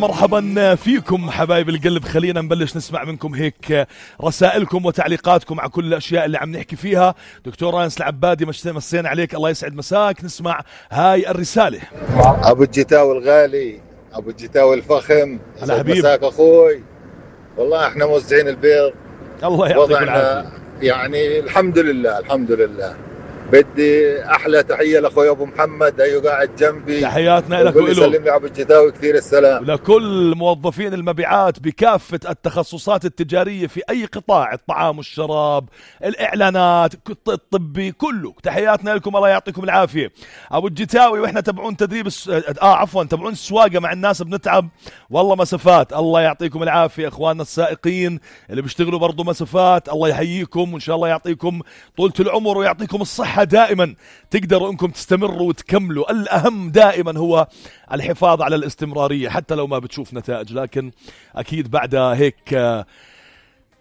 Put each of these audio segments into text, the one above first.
مرحبا فيكم حبايب القلب. خلينا نبلش نسمع منكم هيك رسائلكم وتعليقاتكم على كل الأشياء اللي عم نحكي فيها. دكتور أنس العبادي مسينا عليك، الله يسعد مساك. نسمع هاي الرسالة. أبو الجتاوي الغالي، أبو الجتاوي الفخم، يسعد مساك أخوي. والله احنا موزعين البيض، الله يعطيك العافية. يعني الحمد لله الحمد لله. بدي احلى تحيه لاخوي ابو محمد، ايوه قاعد جنبي، تحياتنا لك وله. سلم لي ابو الجتاوي كثير السلام. لكل موظفين المبيعات بكافه التخصصات التجاريه في اي قطاع، الطعام والشراب، الاعلانات، الطبي، كله تحياتنا لكم، الله يعطيكم العافيه. ابو الجتاوي واحنا تبعون تدريب تبعون السواقه مع الناس بنتعب والله مسافات، الله يعطيكم العافيه. اخواننا السائقين اللي بيشتغلوا برضو مسافات، الله يحييكم وان شاء الله يعطيكم طولة العمر ويعطيكم الصحة دائما، تقدروا انكم تستمروا وتكملوا. الاهم دائما هو الحفاظ على الاستمرارية حتى لو ما بتشوف نتائج، لكن اكيد بعد هيك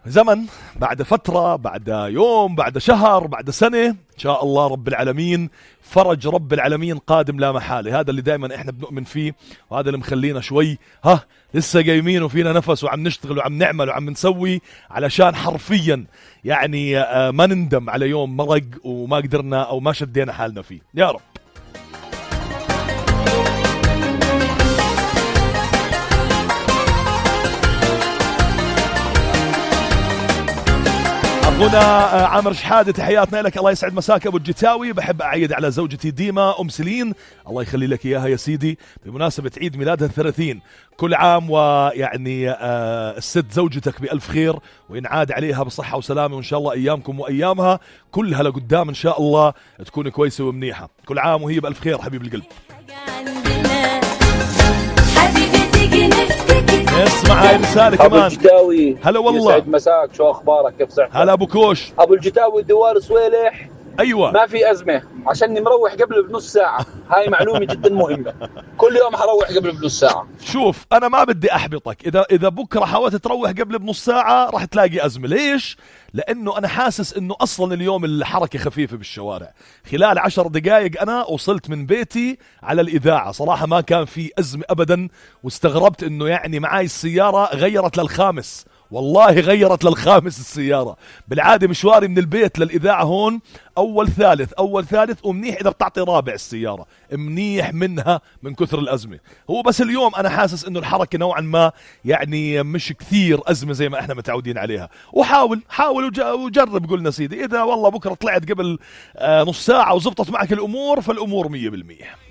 زمن، بعد فترة، بعد يوم، بعد شهر، بعد سنة، ان شاء الله رب العالمين فرج رب العالمين قادم لا محالة. هذا اللي دائما احنا بنؤمن فيه، وهذا اللي مخلينا شوي لسه قايمين وفينا نفس وعم نشتغل وعم نعمل وعم نسوي، علشان حرفيا يعني ما نندم على يوم مرق وما قدرنا او ما شدينا حالنا فيه يا رب. هنا عامر شحادة، تحياتنا لك، الله يسعد مساك ابو الجتاوي. بحب اعيد على زوجتي ديما ام سلين، الله يخلي لك اياها يا سيدي، بمناسبة عيد ميلادها 30. كل عام ويعني الست زوجتك بألف خير وينعاد عليها بصحة وسلامة، وان شاء الله ايامكم وايامها كلها لقدام ان شاء الله تكون كويسة ومنيحة. كل عام وهي بألف خير حبيب القلب. اسمع هاي رسالة كمان. أبو الجتاوي، هلا والله، يسعد مساك، شو أخبارك، كيف صحتك؟ هلا أبو كوش. أبو الجتاوي الدوار صويلح. أيوة، ما في أزمة، عشاني مروح قبل بنص ساعة، هاي معلومة جدا مهمة. كل يوم حروح قبل بنص ساعة. شوف أنا ما بدي أحبطك، إذا بكرة حاولت تروح قبل بنص ساعة راح تلاقي أزمة. ليش؟ لأنه أنا حاسس إنه أصلا اليوم الحركة خفيفة بالشوارع. خلال 10 دقائق أنا وصلت من بيتي على الإذاعة، صراحة ما كان في أزمة أبدا، واستغربت إنه يعني معاي السيارة غيرت للخامس، والله غيرت للخامس السيارة. بالعادة مشواري من البيت للإذاعة هون أول ثالث ومنيح إذا بتعطي رابع السيارة، منيح منها من كثر الأزمة. هو بس اليوم أنا حاسس إنه الحركة نوعا ما يعني مش كثير أزمة زي ما إحنا متعودين عليها. وحاول وجرب، قلنا سيدي إذا والله بكرة طلعت قبل نص ساعة وزبطت معك الأمور، فالأمور 100%.